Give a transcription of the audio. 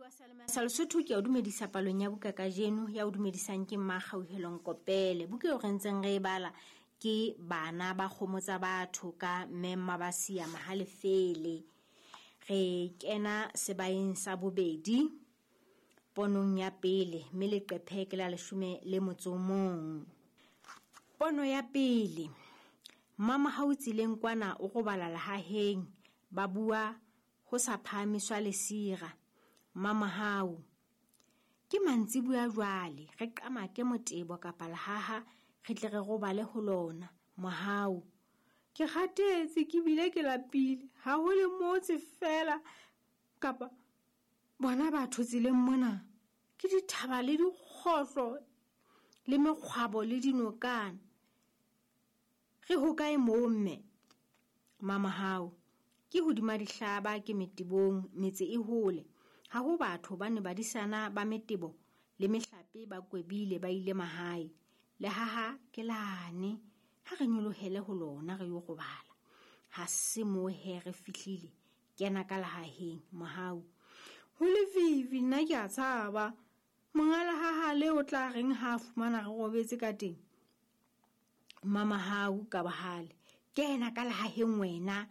Momamedi wa Salema sa Lesotho ke a o dumedisa palong ya buka kajeno ya o dumedisang ke Mmakgauhelong Kopele. Buka eo re ntseng re e bala ke Bana ba Kgomo tsa Batho ka Mme Mmabasia Mahalefele. Re kena sebaeng sa bobedi ponong ya pele mme leqephe ke la leshome le motso o mong. Pono ya pele Mmamahau tseleng kwana o robala lehaheng ba bua ho sa phahamiswa lesira. Mmamahau ke mantsibuya jwale re qamake motebo kapa lehaha re tle re robale ho lona. Mohau ke kgathetse ke bile ke lapile ha ho le motse feela kapa bona batho tseleng mona ke dithaba le dikgohlo le mekgwabo le dinokana. Re hokae moo mme? Mamahau ke hodima dihlaba ke metebong metse e hole. Ha ho batho ba ne badisana ba metebo le mehlape ba kwebile ba ile mahae. Lehaha ke lane ha re nyolohele ho lona re yo robala. Ha se moo he re fihlile kena ka lehaheng Mohau. Ho lefifi nna ke a tshaba. Monga lehaha le o tla reng ha a fumana re robetse ka teng? Mamahau ka bohale. Kena ka lehaheng wena.